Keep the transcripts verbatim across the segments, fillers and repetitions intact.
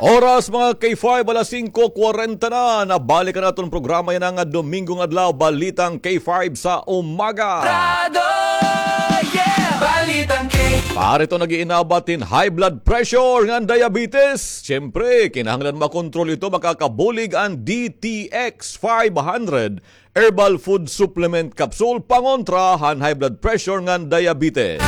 Oras, mga K five, alas singko kwarenta na. Nabalik an aton programa yana nga Domingo nga adlaw, Balitang K five sa umaga. Brado, yeah! Balitang K. Para ito nag-iinabat hin high blood pressure ngan diabetes. Siyempre, kinahanglan makontrol ito, makakabulig an D T X five hundred Herbal Food Supplement Capsule pangontra han high blood pressure ngan diabetes.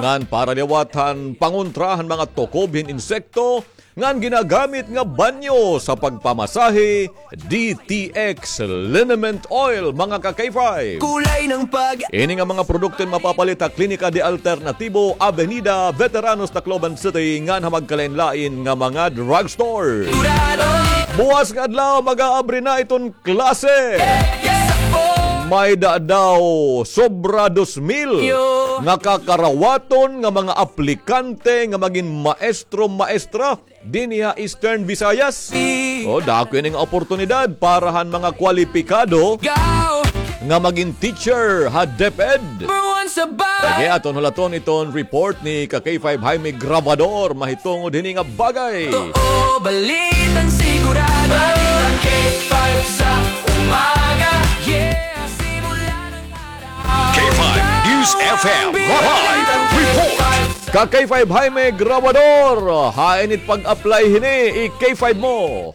Ngan para liwat han pangontra han mga tukob hin insekto ngan ginagamit nga banyo sa pagpamasahe, D T X Liniment Oil, mga ka-K five. Kulay ng pag- Ini nga mga produkto mapapalit ha Klinika de Alternativo, Avenida Veteranos, Tacloban City, ngan ha magkalain-lain nga mga drugstore. Buwas nga adlaw, mag-aabri na iton klase. May-ada daw sobra dos mil nga kakarawaton nga mga aplikante nga magin maestro, maestra dinhi ha Eastern Visayas. O, dako ini nga oportunidad para han mga kwalipikado nga magin teacher ha DepEd. Sige, aton hulaton iton report ni ka K five Jaime Grabador mahitungod hini nga bagay. Totoo, balitang sigurado. Balitang K five sa umaga. Yeah, simula ng araw. K five News F M live report. Ka K five Jaime Grabador, hain it pag-apply hini, i-K five mo.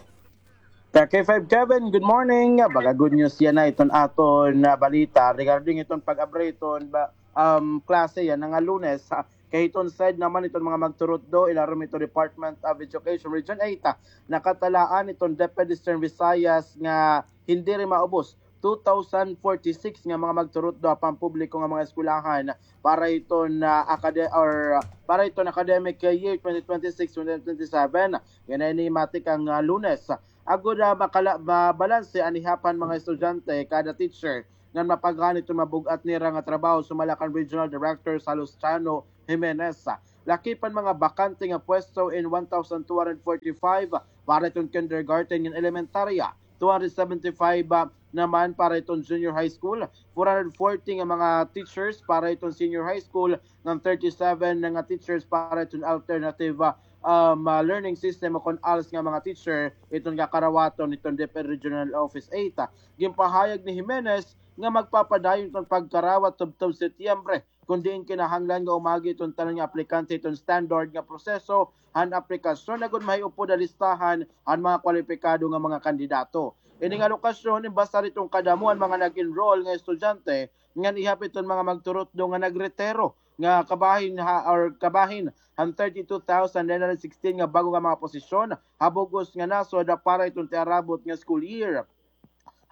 Ka K five Kevin, good morning. Baga good news yana iton aton, ah, balita regarding iton pag-abri iton ba, um, klase yana nga Lunes, ha. Kay hiton side naman iton mga magturutdo, ilarom iton Department of Education Region eight, ah, nakatalaan iton DepEd Eastern Visayas nga hindi rin maubos two thousand forty-six nga mga magturutdo ha pampubliko nga mga eskwelahan para iton, ah, akade-, or, ah, para iton academic year twenty twenty-six, twenty twenty-seven. Yana ini matikang, ah, Lunes. Agod, ah, makala-, mabalanse an ihap han mga estudyante kada teacher ngan mapaghan iton mabug-at nira nga trabaho, sumala kan Regional Director Salustiano Jimenez. Lakip an mga bakante nga pwesto in one thousand two hundred forty-five para iton kindergarten ngan elementarya, two hundred seventy-five, ah, naman para iton junior high school, four hundred forty nga mga teachers para iton senior high school, ngan thirty-seven na nga teachers para iton alternative, ah, um, ah, learning system o kon als nga mga teacher iton kakarawaton iton DepEd Regional Office eight. Ginpahayag ni Jimenez nga magpapadayon iton pagkarawat tubtob Setyembre kon diin kinahanglan nga umagi iton tanan nga aplikante iton standard nga proseso han aplikasyon agod mahiupod ha listahan an mga kwalipikado nga mga kandidato. Ini nga lokasyon, basta iton kadamo an mga nag-enroll nga estudyante ngan ihap iton mga magturutdo nga nagretiro nga kabahin ha, or kabahin han thirty-two thousand nine hundred sixteen nga bag-o nga mga posisyon ha bug-os nga nasod para iton tiarabot nga school year.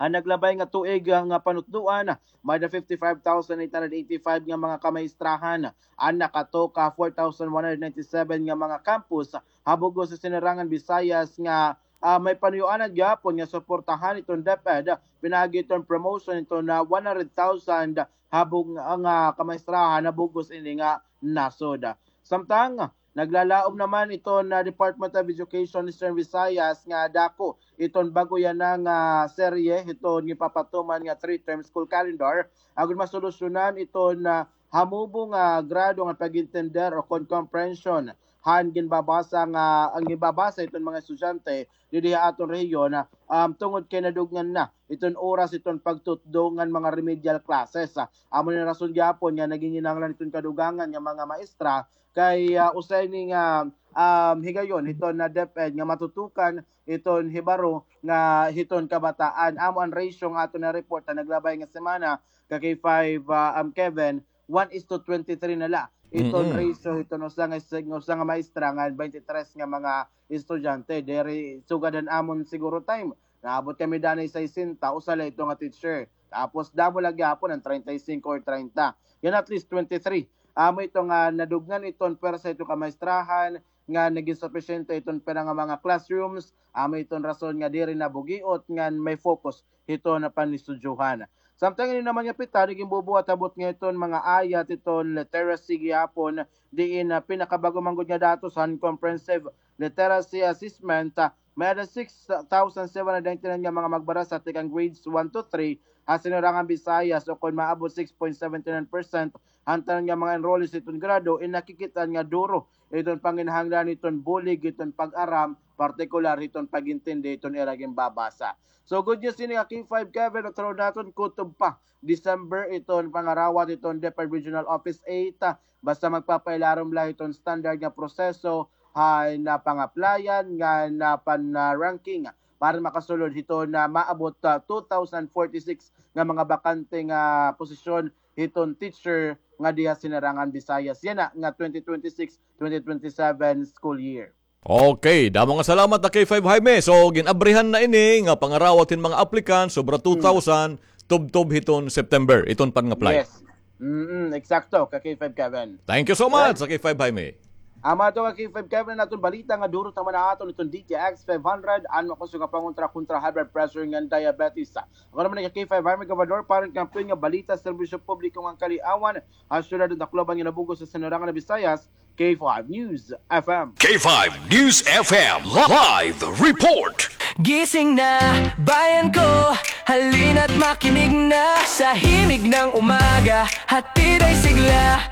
Han naglabay nga tuig nga panutdoan, may-ada fifty-five thousand eight hundred eighty-five nga mga kamaestrahan. An nakatoka, four thousand one hundred ninety-seven nga mga campus ha bug-os nga sinirangan Visayas nga, ah, may panuyoan gihapon nga suportahan iton DepEd pinaagi iton promotion iton, ah, one hundred thousand ha bug-, nga kamaestrahan ha bug-os ini nga nasod. Samtang naglalaom naman iton, ah, Department of Education Eastern Visayas nga dako iton bag-o yana nga serye hiton ginpapatuman nga three-term school calendar agod masolusyonan iton, ah, hamubo nga grado nga pag-intender o kon comprehension han ginbabasa nga, an ginbabasa iton mga estudyante didi ha aton rehiyon, ah, um, tungod kay nadugngan na iton oras iton pagtutdo ngan mga remedial classes, ah. Amo ni rason gihapon nga naginginahanglan iton kadugangan nga mga maestra kay, ah, usa ini nga, um, higayon hiton, ah, DepEd nga matutukan iton hibaro nga hiton kabataan. Amo an ratio nga aton na-report han naglabay nga semana, ka K five, ah, um, Kevin, one is to twenty-three na la iton ratio hiton usa nga, usa nga maestra ngan twenty-three nga mga estudyante. Diri sugad han amon siguro time, naabot kami danay sesenta, usa la ito nga teacher. Tapos damo la gihapon an treinta y cinco or treinta. Yana at least twenty-three. Amo ito nga nadugngan iton pwersa iton kamaestrahan nga nagin supisyente iton pira nga mga classrooms. Amo iton rason nga diri nabugiot ngan may focus hiton panistudyohan. Samtang ini naman nga pita, nagin bubuhat ha butnga iton mga ayat iton literacy gihapon, diin, ah, pinakabag-o man gud nga datos han Comprehensive Literacy Assessment, ah, may-ada six thousand seven hundred ninety-nine nga mga magbarasa tikang grades one to three ha Sinirangan Visayas, o kon maabot six point seventy nine percent han tanan nga mga enrollees hiton grado, in nakikit-an nga duro iton panginahanglan hiton bulig hiton pag-aram, partikular hiton pag-intindi hiton ira ginbabasa. So, good news ini nga K five Kevin, o through naton kutob pa December iton pangarawat hiton DepEd Regional Office eight, ah, basta magpapailarom la hiton standard nga proseso han, ah, pang-applyan ngan, ah, pan-ranking para makasulod hiton, ah, maabot, ah, two thousand forty-six nga mga bakante nga posisyon hiton teacher nga diha Sinirangan Visayas yana nga twenty twenty-six, twenty twenty-seven school year. Okay, damo nga salamat, ha, K five Jaime. So, gin-abrihan na ini nga pangarawat hin mga applicants, sobra two thousand, tubtob hiton September, iton pang-apply. Yes. Mm, eksakto, ka K five Kevin. Thank you so much, ha, K five Jaime. Amo ato, ka K five Kevin, an aton balita nga duro ta man ha aton iton D T X five hundred, an makusog nga pangontra kontra high blood pressure ngan diabetes. Ako naman, ka K five Jaime, Gobernador, para han kampiyon nga balita, serbisyo publiko ngan kaliawan ha syudad han Tacloban ngan Nabogo sa Sinirangan Visayas, K five News F M. K five News F M live report. Gising na, bayan ko, halina't makinig na sa himig ng umaga, hatid ay sigla,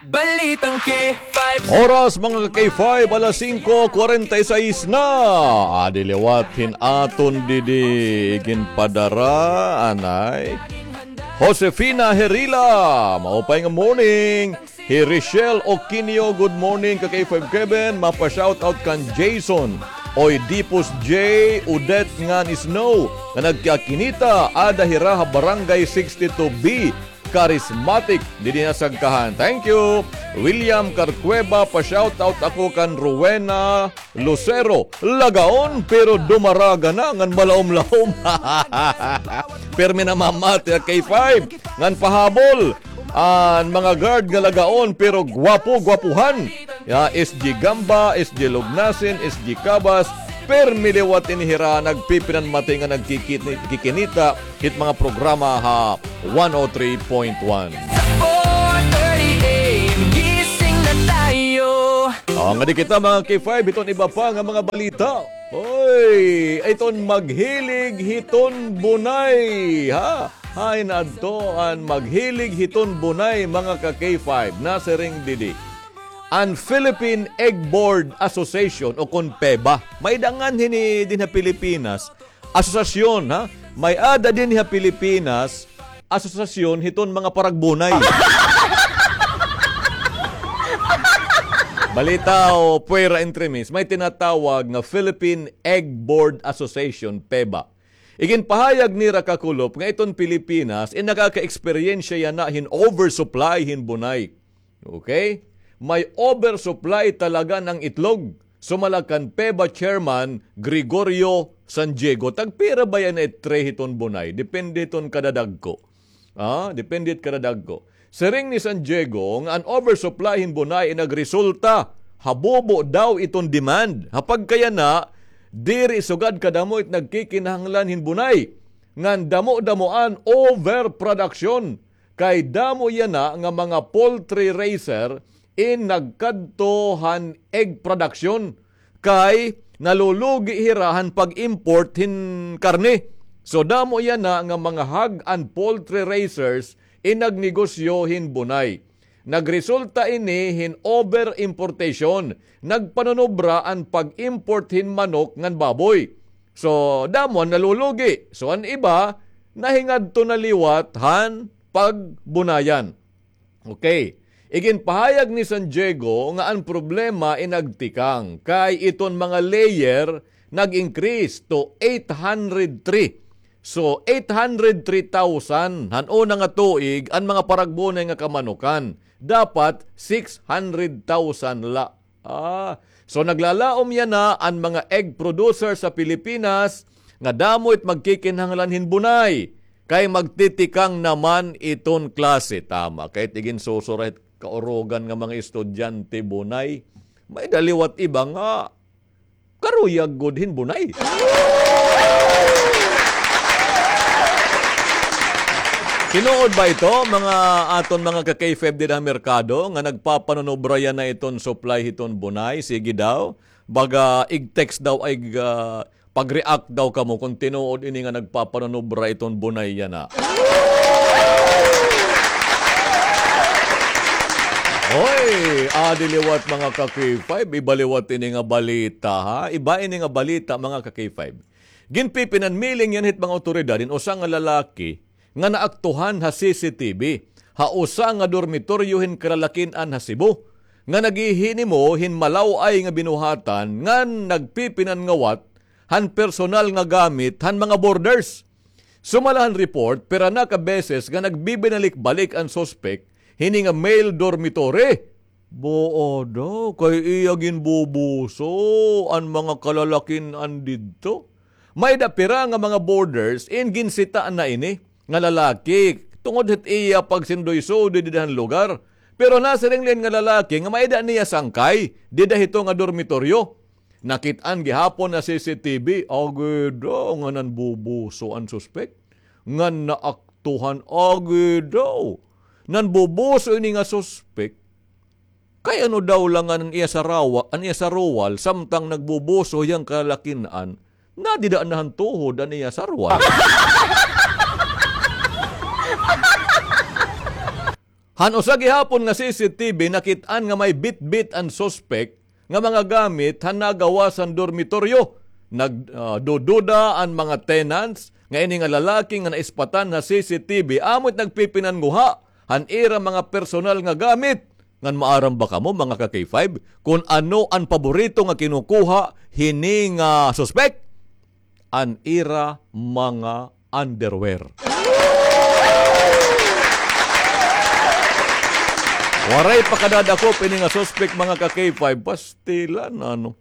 balitang K five. Oras, mga ka K five, alas singko kwarenta y seis na. Adi liwat hin aton didi ginpadara, anay. Josefina Herila, maupay nga morning. Hi Richelle Oquinio, good morning, ka K five Kevin. Mapa-shoutout kan Jason Oidipus, J, Odette ngan Snow, nga nagkakinita, ada hira ha Barangay sixty-two B, Charismatic, didi ha Sagkahan. Thank you. William Carcueva, pa-shoutout ako kan Rowena Lucero, Lagaon, pero dumaraga na ngan malaom-laom. Pirmi namamati ha K five ngan pahabol an mga guard nga Lagaon, pero gwapo-gwapuhan. Ya, S G Gamba, S G Lugnasin, S G Cabas, pirmi liwat ini hira nagpipinanmati nga nagkikit-, kikinita hit mga programa ha one oh three point one. Sa four thirty A M, gising na tayo. Ah, ngadi kita, mga K five, hiton iba pa nga mga balita. Hoy, iton maghilig hiton bunay, ha? Hain adto an maghilig hiton bunay, mga ka K five, nasiring didi. An Philippine Egg Board Association o kon PEBA. May-ada nganhi dinhi ha Pilipinas asosasyon, ha? May-ada dinhi ha Pilipinas asosasyon hiton mga paragbunay. Balita o puwera entremis, may tinatawag nga Philippine Egg Board Association, PEBA. Iginpahayag nira kakulop nga iton Pilipinas in nakaka-eksperyensya yana hin oversupply hin bunay. Okay? May oversupply talaga ng itlog. Sumala kan PEBA chairman Gregorio San Diego, tagpira ba yana it tray hiton bunay? Depende hiton kadadagko. Ah, depende hit kadadagko. Siring ni San Diego nga an oversupply hin bunay in nagresulta ha bubo daw iton demand. Ha pagkayana, diri sugad kadamo it nagkikinahanglan hin bunay. Ngan damo-damo an overproduction. Kay damo yana nga mga poultry raiser in nagkadto han egg production kay nalulugi hira han pag-import hin karne. So, damo yana nga mga hog and poultry raisers in nagnegosyo hin bunay. Nagresulta ini hin over-importation. Nagpanunubra an pag-import hin manok ngan baboy. So, damo an nalulugi. So, an iba, nahingadto na liwat han pagbunayan. Okay. Iginpahayag ni San Diego nga an problema in nagtikang kay iton mga layer nag-increase to eight hundred three. So, eight hundred three thousand han una nga tuig an mga paragbunay nga kamanukan. Dapat six hundred thousand la. Ah, so naglalaom yana an mga egg producer sa Pilipinas nga damo it magkikinahanglan hin bunay kay magtitikang naman iton klase. Tama, kay it iginsusura hit kaurugan nga mga estudyante bunay. May-ada liwat iba nga karuyag gud hin bunay. Tinuod ba ito, mga aton mga ka-K five dida ha merkado, nga nagpapanunubra yana iton supply hiton bunay? Sige daw. Baga ig-text daw, ig, ah, Pag-react daw kamo kon tinuod ini nga nagpapanunubra iton bunay yana. Hoy, adi liwat, mga ka-K five, iba liwat ini nga balita, ha? Iba ini nga balita, mga ka-K five. Ginpipinanmiling yana hit mga awtoridad hin usa nga lalaki nga naaktuhan ha C C T V ha usa nga dormitoryo hin kalalakin-an ha Cebu nga naghihinimo hin malaw-ay nga binuhatan ngan nagpipinanngawat han personal nga gamit han mga boarders. Sumala han report, pira na ka beses nga nagbibinalik-balik an suspek hini nga male dormitory. Buo daw, kay iya ginbubuso an mga kalalakin-an didto. May-ada pira nga mga boarders in ginsita na ini nga lalaki tungod hit iya pagsindoy-sudoy dida han lugar. Pero nasiring la ini nga lalaki nga may-ada niya sangkay dida hito nga dormitoryo. Nakit-an gihapon ha C C T V, agi daw nga nanbubuso an suspek. Nga naaktuhan, agi daw. Nanbubuso ini nga suspek. Kay ano daw la ngan an iya sarawa-, an iya saruwal, samtang nagbubuso hiya han kalalakin-an, nadida na han tuhod an iya saruwal. Han usa gihapon nga C C T V, nakit-an nga may bitbit an suspek nga mga gamit han nagawas han dormitoryo. Nag-, ah, dududa an mga tenants nga ini nga lalaki nga naispatan ha C C T V amo it nagpipinanguha han ira mga personal nga gamit. Ngan maaram ba kamo, mga ka-K five, kon ano an paborito nga kinukuha hini nga suspek? An ira mga underwear. Waray pa kadadakop ini nga suspek, mga ka-K five, pastilan, ano.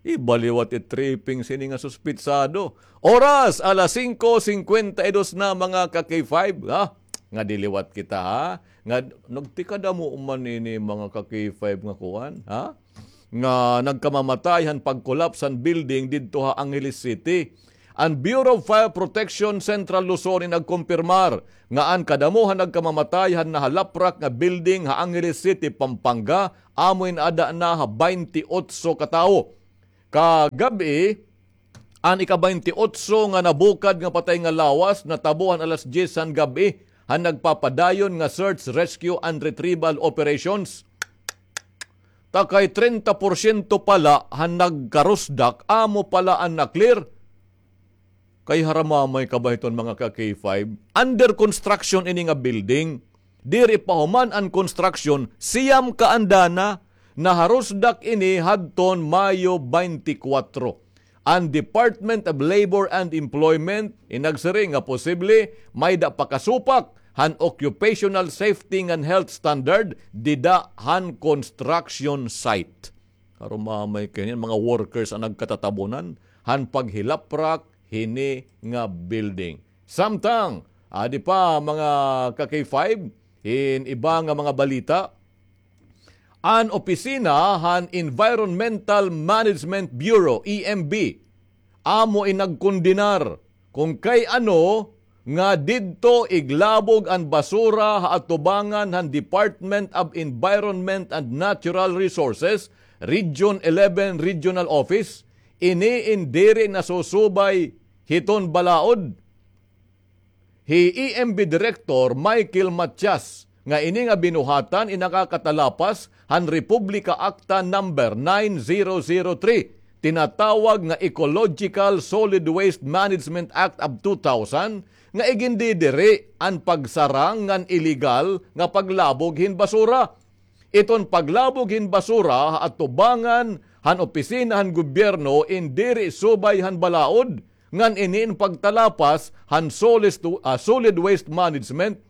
Iba liwat it tripping sini nga suspitsado. Oras, alas singko singkwenta y dos na, mga ka-K five, ha? Nga diliwat kita, ha? Nga nagtikadamo man ini, mga ka-K five, nga kuan, ha? Nga nagkamamatay han pag-collapse han building didto ha Angeles City. An Bureau of Fire Protection Central Luzon in nagkumpirmar nga an kadamo han nagkamamatay han nahalaprak nga building ha Angeles City, Pampanga, amo in ada na ha baynte otso ka tawo. Kagab-i, an ika-baynte otso nga nabukad nga patay nga lawas natabo han alas dyes han gab-i han nagpapadayon nga search, rescue, and retrieval operations. Ta kay trenta porsyento pa la han nagkarusdak amo pa la an na-clear. Kay haramamay ka ba hiton, mga ka-K five? Under construction ini nga building. Diri pa human an construction, siyam ka andana, naharusdak ini hadton Mayo baynte kwatro. An Department of Labor and Employment in nagsiring nga posible may-ada pakasupak han occupational safety ngan health standard dida han construction site. Haramamay kay niyan, mga workers an nagkatatabonan han paghilaprak hini nga building. Samtang, adi pa, mga ka-K five, hin iba nga mga balita, an opisina han Environmental Management Bureau, E M B, amo in nagkondenar kon kay ano nga didto iglabog an basura ha atubangan han Department of Environment and Natural Resources, Region eleven Regional Office, ini in diri nasusubay hiton balaod. Hi E M B Director Michael Matias nga ini nga binuhatan in nakakatalapas han Republika Acta Number nine zero zero three, tinatawag nga Ecological Solid Waste Management Act of two thousand, nga igindidiri an pagsarang ngan iligal nga paglabog hin basura. Iton paglabog hin basura ha atubangan han opisina han gobyerno in diri subay han balaod, ngan ini in pagtalapas han solis-, ah, solid waste management.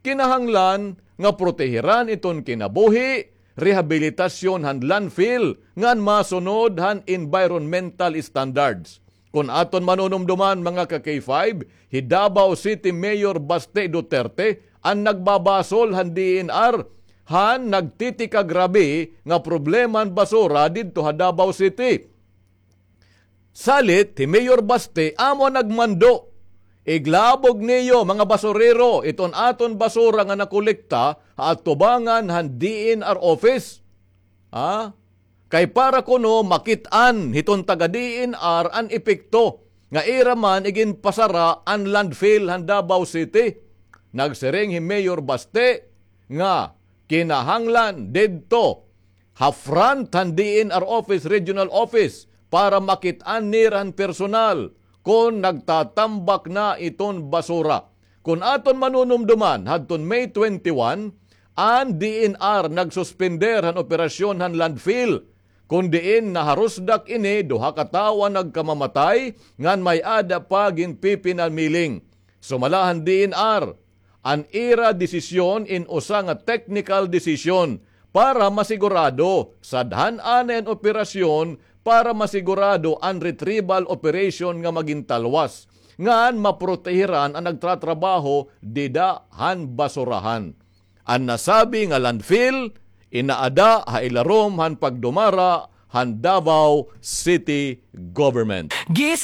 Kinahanglan nga protehiran iton kinabuhi, rehabilitasyon han landfill, ngan masunod han environmental standards. Kon aton manunumdoman, mga ka-K five, hi Davao City Mayor Baste Duterte an nagbabasol han D E N R han nagtitikagrabe nga problema han basura didto ha Davao City. Salit, hi Mayor Baste amo an nagmando. Iglabog niyo, mga basurero, iton aton basura nga nakolekta ha atubangan han D E N R office. Ha? kay para kuno makit-an hiton taga D N R an epekto nga ira man iginpasara an landfill han Davao City. Nagsiring hi Mayor Baste nga kinahanglan didto ha front han D N R office, regional office, para makit-an nira han personal kon nagtatambak na iton basura. Kon aton manunumduman, hadton May twenty-one, an D N R nagsuspender han operasyon han landfill, kon diin naharusdak ini duha ka tawo an nagkamamatay ngan may-ada pa ginpipinamiling. Sumala han D N R, an ira desisyon in usa nga technical decision para masigurado, sadhan anay an operasyon para masigurado an retrieval operation nga magintalwas, ngan maprotehiran an nagtratrabaho dida han basurahan. An nasabi nga landfill, inaada ha ilarom han pagdumara han Davao City Government. Gising